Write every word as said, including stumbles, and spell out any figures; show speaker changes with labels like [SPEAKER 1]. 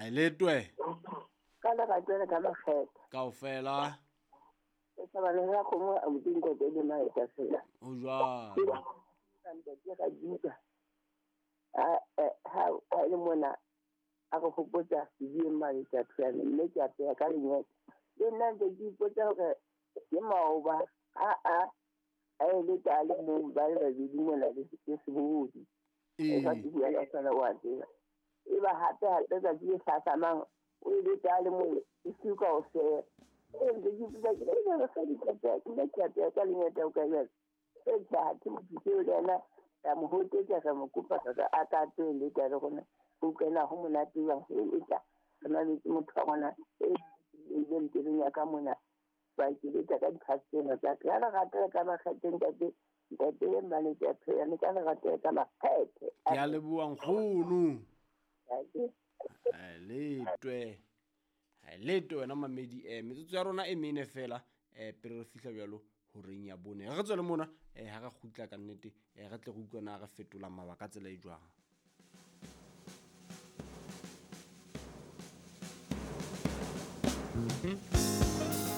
[SPEAKER 1] Ha letwe.
[SPEAKER 2] Ka le ratela ka makgetha.
[SPEAKER 1] Kaofela.
[SPEAKER 2] E sa ba le ra khomo a modimo ntate le maeta fela.
[SPEAKER 1] Ho jwalo.
[SPEAKER 2] Ntate ka juka. Ha ha ha le mona a go hopotsa di maeta fela mme ke a peya ka lenyeta. Le nna ntse ke ipotsa hore ke maoba a a a le ta le mong ba le babedi mona le sebohodi. E ka ke bua ka sona wa tseba. E ba hape hape tsatsi le hlahlamang o ile ta le mong e suka o se. E ntse ke ipotsa ke le re sa di ka ke nna ke a peya ka lenyeta o ka jwang. E tjha ke motho eo le yena ka mo hotetsa ka mo kopa ka a ka tlo le ta le rona. O kena ho monate jwang e tla. Re na le motho wa rona e ile ntebeng ya ka mona. Ba ke le ka diphasela tsa ka le ratela ka makgethe ntate ntate le mmaletse a phela ne ka le ratela ka makgethe.
[SPEAKER 1] Ke a leboha nkgono. Letwe. Letwe wena mamedi eh metsotso ya rona e mene fela eh pele re fihla jwalo horeng ya bone. Re tswele mona eh ha re kgutla ka nnete eh re tle re utlwe na re fetola mabaka tsela e jwang. Mm-hmm.